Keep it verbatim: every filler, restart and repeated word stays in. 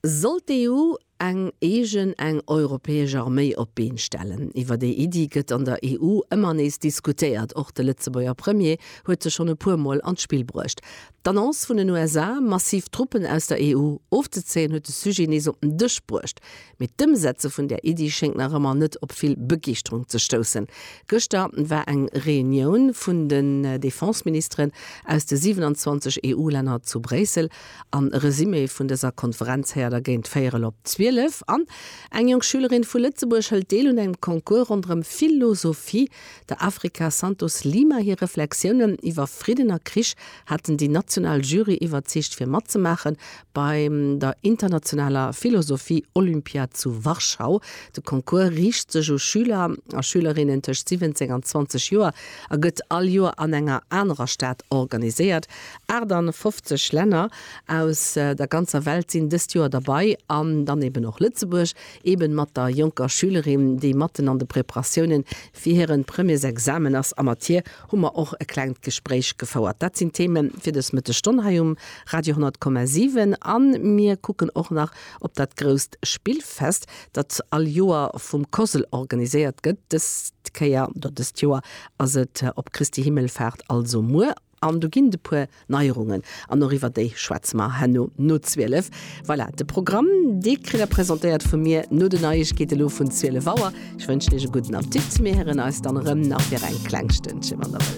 Soll d'EU eng eegen, eng europäesch Arméi op d'Been stellen? Iwwer déi Iddi gëtt an der EU ëmmer nees diskutéiert. Och de Lëtzebuerger Premier huet se schonn e puer Mol an d'Spill bruecht. D'Annonce vun den USA, massiv Truppen aus der EU ofzezéien, huet de Sujet nees op den Dësch bruecht. Mee d'Ëmsetze vun där Iddi schéngt nach ëmmer net op vill Begeeschterung ze stoussen. Gëschter war eng Reunioun vun den Defenseministeren aus de siwenanzwanzeg EU-Länner zu Bréissel. An e Resumé vun dëser Konferenz héiert der géint véierel op zwielef. An eng jonk Schülerin vu Lëtzebuerg hëlt deel un engem Concours ronderëm Philosophie. Der Africa Santos Lima hir Reflexiounen iwwer Fridden a Krich haten déi national Jury iwwerzeegt fir matzemaache bei der internationaler Philosophie-Olympiad zu Warschau. De Concours riicht sech u Schüler a Schülerinnen tëscht siwwenzéng an zwanzeg Joer a gëtt all Joer an enger anerer Stad organiséiert. achtafofzeg Länner aus der ganzer Welt sinn dëst Joer derbei an dann eben och Lëtzebuerg, eben mat der jonker Schülerin, déi matten an de Preparatiounen fir hiren Premièresexamen ass. A mat hir hu mer och e klengt Gespréich gefouert. Dat sinn d'Themen fir dës Mëttesstonn hei um Radio honnert Komma siwen. A mir kucken och nach op dat grousst Spillfest, dat all Joer vum COSL organiséiert gëtt. Dës Kéier, oder dëst Joer ass et op Christi Himmelfahrt, also muer. An do ginn et e puer Neierungen an och iwwer déi schwätze mer herno no zwielef. Voilà, de Programm, dee kritt der presentéiert vu mir no den Neiegkeete lo vun zwielef Auer. Ech wënschen iech e gudden Appetit. Mir héieren eis dann erëm nach fir eng kleng Stënnche, wann der wëllt.